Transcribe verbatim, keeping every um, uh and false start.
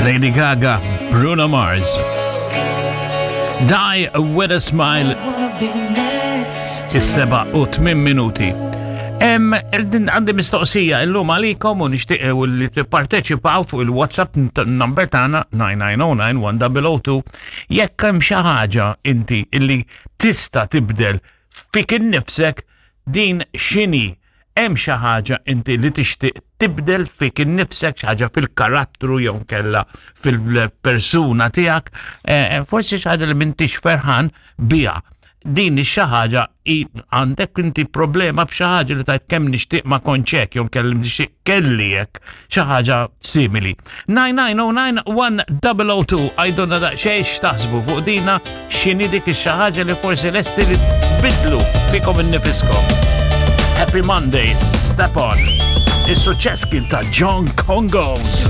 Lady Gaga, Bruno Mars. Die with a Smile. Is-seba u tmien minuti. Em, għandi mistoqsija illum għalikom u nixtieq li tipparteċipaw fuq il-WhatsApp number tagħna nine nine zero nine one zero zero two jekk hemm xi ħaġa inti illi tista' tibdel fik innifsek, din x'inhi? Hemm xi ħaġa inti li tixtieq tibdel fik innifsek, xi ħaġa fil-karattru jew kella fil-persuna tiegħek, eh, forsi xi ħaġa li m'intix ferħan biha? Din xi ħaġa, għandek inti problema b'xi ħaġa li tgħid kemm nixtieq ma kontx hekk jew kelli nixtieq kelli hekk, xi ħaġa simili? nine nine zero nine one zero zero two, għidulna daqsxejn x'taħsbu fuq dina, x'inhi dik xi ħaġa li forsi lesti li tbidlu fikom innifiskom. Happy Mondays, Step On. Is-suċċess kien ta' John Congos.